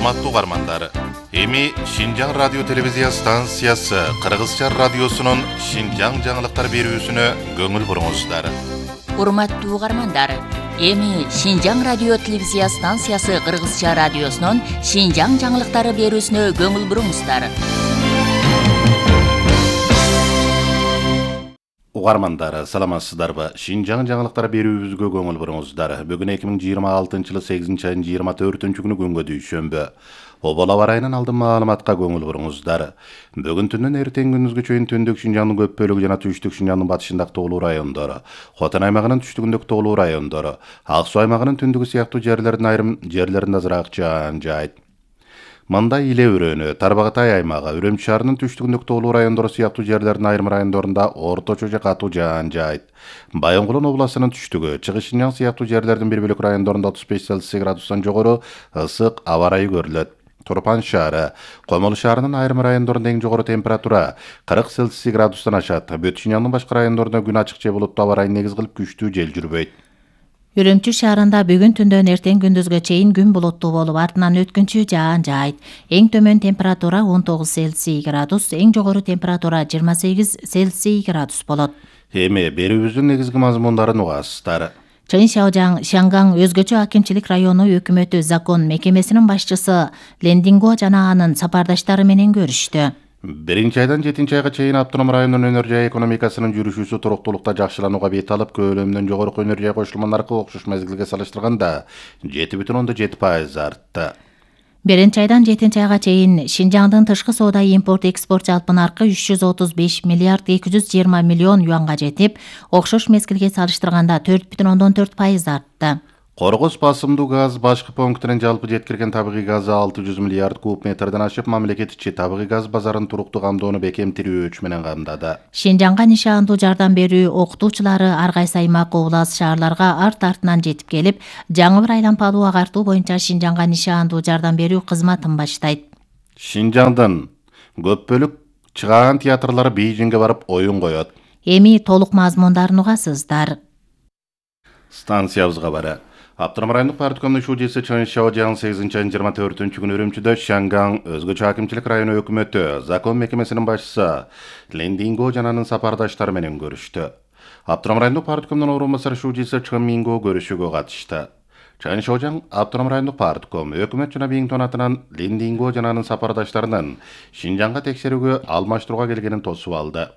Урматтуу угармандар, эми Шинжаң радио телевизия станциясы Кыргызча радиосунун Шинжаң жаңылыктар берүүсүнө көңүл буруңуздар. Урматтуу угармандар, эми Шинжаң радио телевизия станциясы Кыргызча радиосунун Шинжаң жаңылыктары берүүсүнө көңүл буруңуздар. Угармандар, саламатсыздарбы? Шинжаң жаңылыктар берүүбүзгө көңүл буруңуздар. Бүгүн 2026-жылы 8-айдын 24-күнү күнгө дүйшөмбү. Обол аба ырайынан алдын маалыматка көңүл буруңуздар. Бүгүн түндөн эртең күндүзгө чейин түндүк Шинжаңдын көп бөлүгү жана түштүк Шинжаңдын батышындагы тоолуу райондору, Хотон аймагынын түштүгүндөгү тоолуу райондору, Ак Суу аймагынын түндүгү сыяктуу жерлердин айрым жерлеринде азыраак жаан жаайт. Мында Иле өрөөнү, Тарбагатай аймагы, Үрөмчү шаарынын түштүгүндөгү тоолуу райондору сыяктуу жерлердин айрым райондорунда орточо же катуу жаан жаайт. Байонгулун областынын түштүгү, Чыгыш Шинжаң сыяктуу жерлердин бир бөлүк райондорунда 35 градустан жогору ысык аба ырайы көрүлөт. Турпан шаары, Комол шаарынын айрым райондорунда эң жогору температура 40 градустан ашат. Бүт Шинжаңдын башка райондорунда күн ачык же булуттуу аба ырайын негиз кылып күчтүү жел жүрбөйт. Үрөмчү шаарында бүгүн түндөн эртең күндүзгө чейин күн булуттуу болуп, артынан өткүнчү жаан жаайт. Эң төмөн температура 19 градус, эң жогору температура 28 градус болот. Эми берүүбүздүн негизги мазмундарын угасыздар. Чын Шаңгаң өзгөчө акимчилик району өкмөтү закон мекемесинин башчысы Лендинго жана анын сапардаштары менен көрүштү. 1-айдан 7-айга чейин автоном райондун өнөр жай экономикасынын жүрүшүүсү туруктуулукта жакшыланууга бет алып, көлөмүнөн жогорку өнөр жай кошулмалар аркылуу окшош мезгилге салыштырганда 7,7% артты. 1-айдан 7-айга чейин Шинжаңдын тышкы соода импорт-экспорт жалпы наркы 335 миллиард 220 миллион юанга жетип, окшош мезгилге салыштырганда 4,4% артты. Коргоз басымдуу газ башкы пунктунун жалпы жеткирген табигый газы 600 миллиард куб метрден ашып, мамлекет ичи табигый газ базарын туруктуу камдоону бекемтирүүчү менен камдады. Шинжаңга нишаандуу жардам берүү окутуучулары ар кайсы аймак, облас, шаарларга арт-артынан жетип келип, жаңы бир айлампалуу агартуу боюнча Шинжаңга нишаандуу жардам берүү кызматын баштайт. Шинжаңдын көп бөлүк чыгаан театрлары Бейжиңге барып оюн коет. Эми толук мазмундарын угасыздар. Станциябызга бара. Автоном райондук парткомдун шуудиси Чын Шаожаң 8-айдын 24-күнү Үрөмчүдө Шаңгаң өзгөчө акимчилик району өкмөтү, закон мекемесинин башчысы Лендинго жана анын сапардаштары менен көрүштү. Автоном райондук парткомдун орун басары шуудиси Чын Минго көрүшүүгө катышты. Чын Шаожаң автоном райондук партком өкмөт жана Биңтон атынан Лендинго жана анын сапардаштарынын Шинжаңга текшерүүгө алмаштырууга келгенин тосуп алды.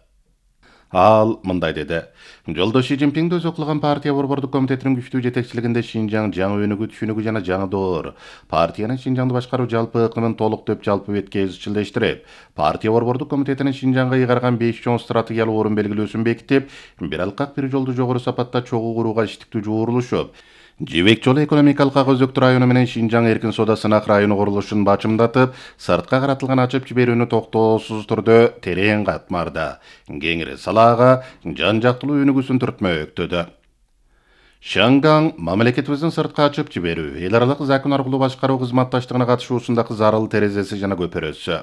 Ал мындай деди. Жолдош Си Цзиньпинди өзү кылган партия борбордук комитетинин күчтүү жетекчилигинде Шинжаң жаңы өнүгүү түшүнүгү жана жаңы доор. Партиянын Шинжаңды башкаруу жалпы ыкмын толуктоп жалпы бетке изчилдештирип, партия борбордук комитетинин Шинжаңга ыйгарган 5 чоң стратегиялык орун белгилөөсүн бекитип, бир алкак бир жолду жогору сапатта чогуу курууга иштиктүү жуурулушуп, Жибек жолу экономикалык өзөктүү району менен Шинжаң эркин соода сынак району курулушун бачымдатып, сыртка каратылган ачып жиберүүнү токтоосуз түрдө терең катмарды. Кеңири салаага жан жактылуу өнүгүүсүн түртмөктөдү. Шаңгаң мамлекетибиздин сыртка ачып жиберүү, эл аралык закон аркылуу башкаруу кызматташтыгына катышуусундагы зарыл терезеси жана көпөрөсү.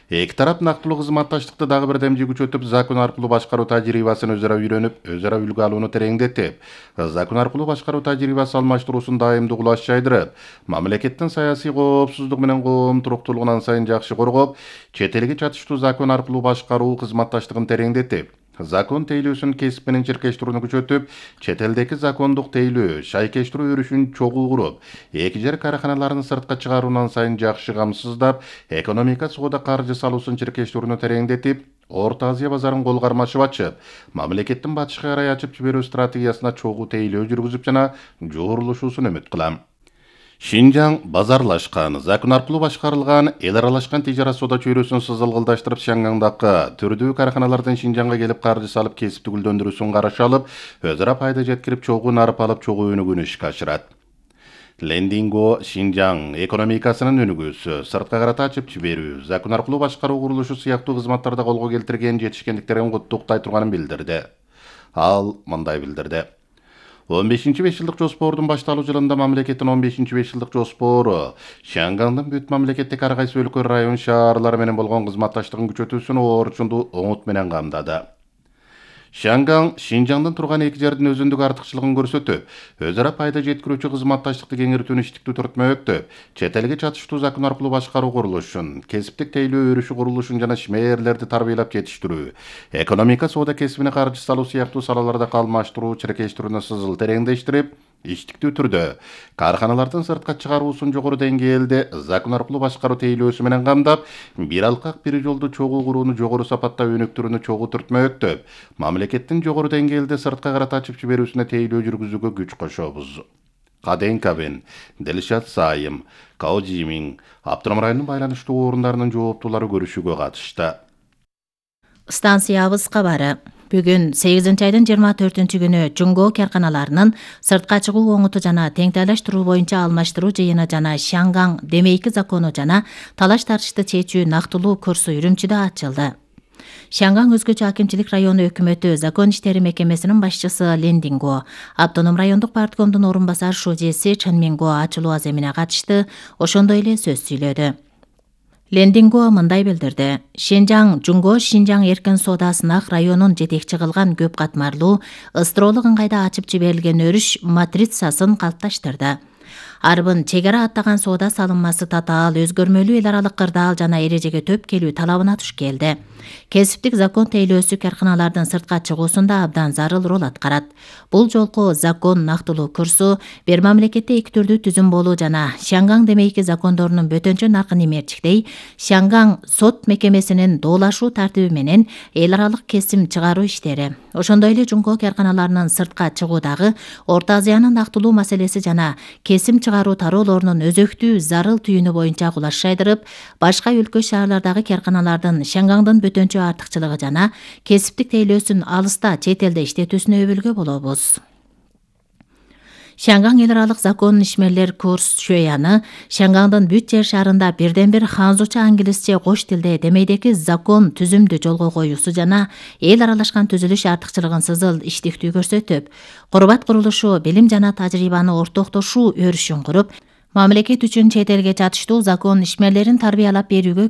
Эки тарап нактылуу кызматташтыкты дагы бир демжи күчөтүп, закон аркылуу башкаруу тажрыйбасын өзара үйрөнүп, өзара үлгү алууну тереңдетип, закон аркылуу башкаруу тажрыйбасы алмаштыруусун дайымдуу кулаш жайдырып, мамлекеттин саясий коопсуздугу менен коом туруктуулугун ан сайын жакшы коргоп, чет элге чатыштуу закон аркылуу башкаруу кызматташтыгын тереңдетип, закон тейлөөсүн кесип менен чиркештирүүнү күчөтүп, чет элдеги закондук тейлөө, шайкештирүү өрүшүн чогуу куруп, эки жер караханаларын сыртка чыгарууну сайын жакшы камсыздап, экономика соода каржы салуусун чиркештирүүнү тереңдетип, Орто Азия базарын кол кармашып ачып, мамлекеттин батышка карай ачып жиберүү стратегиясына чогуу тейлөө жүргүзүп жана жуурулушуусун үмүт кылам. Шинжаң базарлашкан, закон аркылуу башкарылган, эл аралашкан тижарат соода чөйрөсүн сызылгылдаштырып, Шаңгаңдагы түрдүү караханалардан Шинжаңга келип каржы салып, кесипти гүлдөндүрүүсүн караш алып, өзара пайда жеткирип, чогуу нарып алып, чогуу өнүгүүнү ишке ашырат. Лендинго Шинжаң экономикасынын өнүгүүсү, сыртка карата ачып жиберүү, закон аркылуу башкаруу курулушу сыяктуу кызматтарда колго келтирген жетишкендиктерин куттуктай турганын билдирди. Ал мындай билдирди. 15-5 жылдык жоспордун башталуу жылында мамлекеттин 15-5 жылдык жоспору Шаңгаңдын бүт мамлекеттик ар кайсы өлкө, район, шаарлар менен болгон кызматташтыгын күчөтүүсүн орчундуу оңут менен камдады. Шанган Шинжаңдан турган эки жердин өзүндүк артыкчылыгын көрсөтүп, өз ара пайда жеткирүүчү кызматташтыкты кеңиртүүнү иштиктүү түртмөктөп, чет элге чатыштуу закон аркылуу башкаруу курулушун, кесиптик тейлөө өрүшү курулушун жана ишмээрлерди тарбиялап жетиштирүү, экономика соода кесибине каржы салуу сыяктуу салаларда калмаштыруу, чиркештирүүнү сызыл тереңдештирип, иштиктүү түрдө каарханалардын сыртка чыгаруусун жогору деңгээлде закон аркылуу башкаруу тейлөөсү менен камдап, бир алкак бир жолду чогуу курууну жогору сапатта өнүктүрүүнү чогуу түртмөктөп, мамлекеттин жогору деңгээлде сыртка карата ачып жиберүүсүнө тейлөө жүргүзүүгө күч кошобуз. Каден Кабен, Делишат Сайым, Као Жимин, Аптырам районунун байланыштуу орундарынын жооптуулары көрүшүүгө катышты. Станциябыз кабары. Бүгүн 8-айдын 24-күнү Жунгоо карканаларынын сыртка чыгуу оңуту жана теңтайлаштыруу боюнча алмаштыруу жыйыны жана Шанган демейки закону жана талаш тартышты чечүү нактылуу курсу Үрүмчүдө ачылды. Шанган өзгөчө акимчилик району өкмөтү закон иштери мекемесинин башчысы Лен Динго, автоном райондук парткомдун орун басар шужеси Чен Минго ачылуу аземине катышты, ошондой эле сөз сүйлөдү. Лен Динго мындай билдирди. Шинжаң Жунгоо Шинжаң эркин соода сынак районун жетекчи кылган көп катмарлуу ыстыроолук ыңгайда ачып жиберилген өрүш матрицасын калыпташтырды. Арбын чек ара аттаган соода салынмасы татаал, өзгөрмөлүү эл аралык кырдаал жана эрежеге төп келүү талабына туш келди. Кесиптик закон тейлөөсү карканалардын сыртка чыгуусунда абдан зарыл роль аткарат. Бул жолку закон нактылуу курсу бир мамлекетте эки түрдүү түзүм болуу жана Шанган демейки закондорунун бөтөнчө наркын эмерчиктей, Шанган сот мекемесинин доолашуу тартиби менен эл аралык кесим чыгаруу иштери. Ошондой эле Жунгоо карканаларынын сыртка чыгуудагы Орто Азиянын нактылуу маселеси жана кесим чыгаруу тароолорунун өзөктүү зарыл түйүнү боюнча кулаш жайдырып, башка өлкө шаарлардагы карканалардын Шангандын бөтөнчө артыкчылыгы жана кесиптик тейлөөсүн алыста чет элде иштетүүсүнө өбөлгө болобуз. Шанган эл аралык закон ишмерлер курс Шөяны Шангандын бүт жер шаарында бирден бир ханзуча англисче кош тилде демейдеки закон түзүмдү жолго коюусу жана эл аралашкан түзүлүш артыкчылыгын сызыл иштиктүү көрсөтүп, курбат курулушу билим жана тажрыйбаны ортоктошуу өрүшүн куруп, мамлекет үчүн чет элге чатыштуу закон ишмерлерин тарбиялап берүүгө